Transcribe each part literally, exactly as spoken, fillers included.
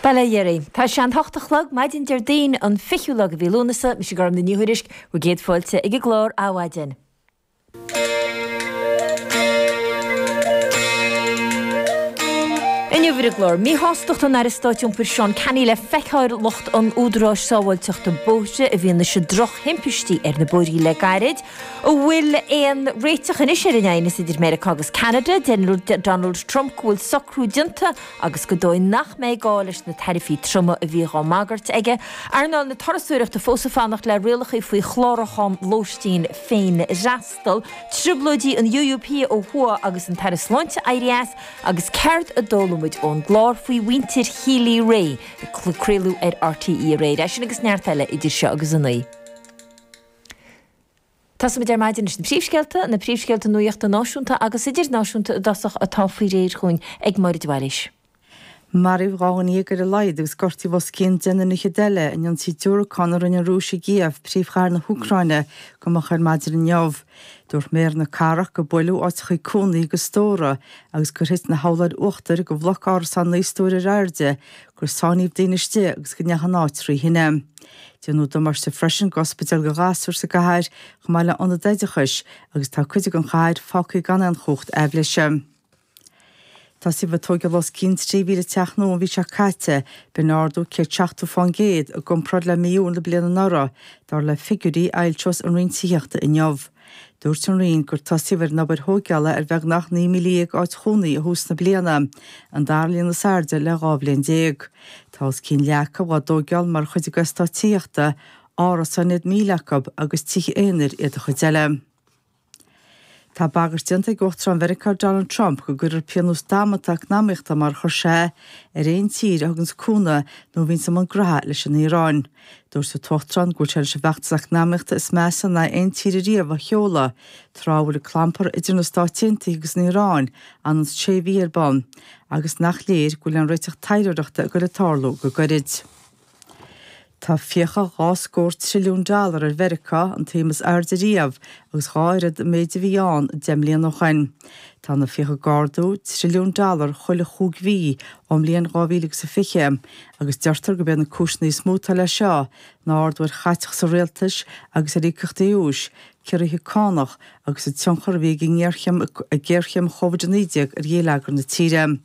Bail ó Dhia oraibh. Tá sé an hocht a chlog maidin Déardaoin an fichiú lá de mhí Lúnasa, mise Gormfhlaith Ní Thuairisg, bhur gcéad fáilte ag an gclár Adhmhaidin. Inniu ar an gclár, míshástacht an Aire Stáit Iompair Seán Canney le feiceáil ar lucht an Údaráis Sábháilteachta Bóithre i bhfianaise drochthimpistí ar na bóithrí le gairid. An bhfuil aon réiteach anois ar an aighneas idir Meiriceá agus Ceanada? Deir Donald Trump go bhfuil socrú déanta agus gur dóigh nach mbeidh gá leis na taraifí troma a bhíodh á mbagairt aige. Earnáil na turasóireachta fós ag fanacht le rialacha faoi chlárúchán lóistín féinfhreastail. Trioblóidí an UUP ó thuaidh agus an tAire Sláinte éirithe as agus céard a d'fhoghlaim muid ón gclár faoi mhuintir Healy-Rae a craoladh ar RTÉ aréir. É sin agus neart eile idir seo agus a naoi. Tosóimid ar maidin leis na príomhscéalta, na príomhscéalta nuachta náisiúnta agus idirnáisiúnta i dtosach atá faoi réir chugainn ag Máire de Bhailís. Maraíodh dhá dhuine dhéag ar a laghad agus gortaíodh os cionn deichniúr fhichead eile in ionsaí diúracán a rinne an Rúis i gCív, príomhchathair na hÚcráine, go moch ar maidin inniu. Dúirt méara na cathrach gur buaileadh áiteachaí cónaí agus stóra agus gur thit na hurláir uachtair de bhloc árasán naoi stór ar airde, gur sáinníodh daoine istigh agus go ndeachaigh an áit trí thine. Déanadh damáiste freisin d'ospidéal do ghasúir sa gcathair, chomh maith le ionad oideachais, agus tá cuid den chathair fágtha gan aon chumhacht aibhléise. Tosaíodh ag tóigeáil os cionn trí mhíle teach nua an mhí seo caite, b'in ardú céad seachtó fán gcéad i gcomparáid le mí Iúil na bliana anuraidh, dar le figiúirí a fhoilseos an Roinn Tithíochta inniu. Dúirt an Roinn gur tosaíodh ar an obair thóigeála ar bheagnach naoi míle dhéag áit chónaí i thús na bliana, an dara líon is airde le dhá bhliain déag. Tá os cionn leath acu á dtóigeáil mar chuid de eastát tithíochta, árasáin iad míle acu agus tithe aonair iad an chuid eile. Tá bagairt déanta ag Uachtarán Mheiriceá Donald Trump go gcuirfear pionós damanta eacnamaíochta, mar a chuir sé, ar aon tír a thuganns cúnamh nó a bhíonns i mbun graithe leis an Iaráin. Dúirt an tUachtarán go bhfuil sé leis an bhfeachtas eacnamaíochta is measa in aghaidh aon tír ariamh a sheoladh, tráth a bhfuil an clampar idir na Stáit Aontaithe agus an Iaráin anonn sé mhí ar bun, agus nach léir go bhfuil aon réiteach taidhleoireachta ag goil ag tarlú go gairid. Tá fiacha dhá scór trilliún dollar ar Mheiriceá, an tsuim is airde riamh, agus dhá oiread an méid a bhí ann deich mbliana ó shoin. Tá na fiacha ag ardú trilliún dollar chuile chúig mhí ón mbliain dhá mhíle agus a fiche, agus deirtear gurb iad na cúiseanna is mó atá leis seo ná ardú ar chaiteachas an rialtais agus ar íocaíochtaí úis, ciorruithe cánach agus an tionchar a bhí ag an ngéarchéim Covid a naoi déag ar gheilleagar na tíre.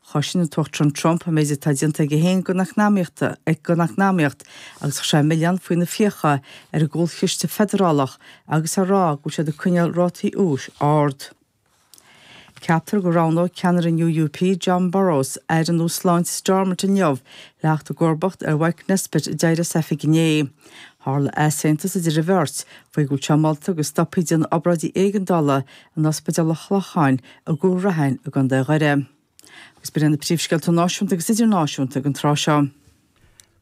Chosain an tUachtarán Trump an méid atá déanta aige féin don eacnamaíocht agus chuir sé an milleán faoi na fiacha ar an gCúlchiste Feidearálach agus á rá go bhfuil siad ag coinneáil rátaí úis ard. Ceaptar go roghnóidh ceannaire an UUP Jon Burrows aire nua sláinte Stormont inniu le theacht i gcomharbacht ar Mike Nesbitt a d'éirigh as oifig inné. Tharla easaontas idir an bheirt faoi go bhfuil sé molta go stopfaí déanamh obráidí éigeandála in Ospidéal an Chlocháin i gCúil Raithin i gContae Dhoire. Agus b'in iad na príomhscéalta náisiúnta agus idirnáisiúnta ag an tráth seo.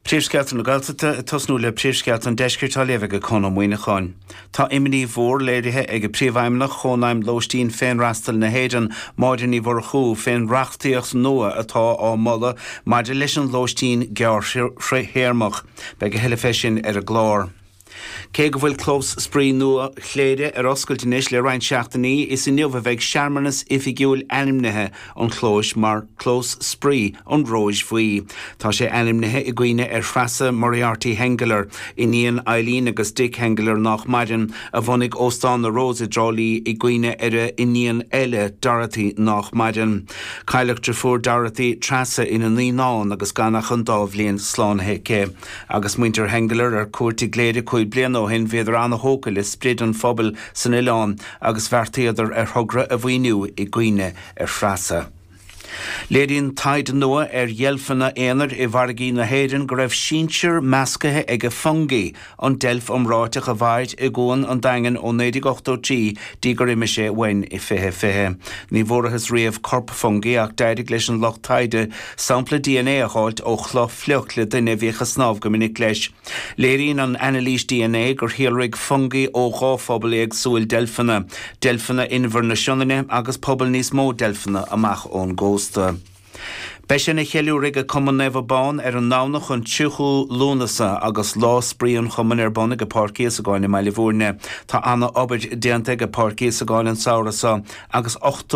Príomhscéalta na Gaeltachta, ag tosnú le príomhscéalta an Deiscirt á léamh ag Conn Ó Muíneacháin. Tá imní mhór léirithe ag Príomhfheidhmeannach Chónaidhm Lóistín Féinfhreastail na hÉireann, Máire Ní Mhurchú, fén reachtaíocht nua atá á moladh maidir leis an lóistín gearrthéarmach. Beidh a thuilleadh fé sin ar an gclár. Cé go bhfuil Clós Spraoi nua Chléire ar oscailt anois le roinnt seachtainí, is inniu a bheidh searmanas oifigiúil ainmnithe an chlóis mar Clós Spraoi an Róis Bhuí. Tá sé ainmnithe i gcuimhne ar Threasa Moriarty Henggeler, iníon Eileen agus Dick Henggeler nách maireann, a bhunaigh Óstán na Rose i dTrá Lí i gcuimhne ar a iníon eile, Dorothy, nách maireann. Cailleadh deirfiúr Dorothy, Treasa, ina naíonán agus gan ach an dá bhliain slánaithe aici. Agus muintir Henggeler ar cuairt i gCléire cúig bliana ó shin bhíodar ana-thógtha le sprid an phobail san oileán agus bheartaíodar ar thogra a mhaoiniú i gcuimhne ar Threasa. Léiríonn taighde nua ar dheilfeanna aonair i bhfarraigí na hÉireann go raibh sinsear meascaithe ag Fungie, an deilf iomráiteach a mhair i gCuan an Daingin ó naoi déag ochtó trí dtí gur imigh sé uainn i fiche fiche. Ní bhfuarathas riamh corp Fungie ach d'éirigh leis an lucht taighde sampla dna a dh'fháilt ó chloch fliuch le duine a bhíodh ag snámh go minic leis. Léiríonn an anailís dna gur shíolraigh Fungie ó dhá phobal éagsúil deilfeanna, deilfeanna Inbhear na Sionainne agus pobal níos mó deilfeanna amach ón gcósta. Beidh sé ina cheiliúradh ag Cumann Naomh Abán ar an nDomhnach an tríochú Lúnasa agus Lá Spraoi an Chumainn ar bun ag Páirc Íosagáin i mBaile Bhúirne. Tá ana obair déanta ag Páirc Íosagáin an samhradh seo agus ochtó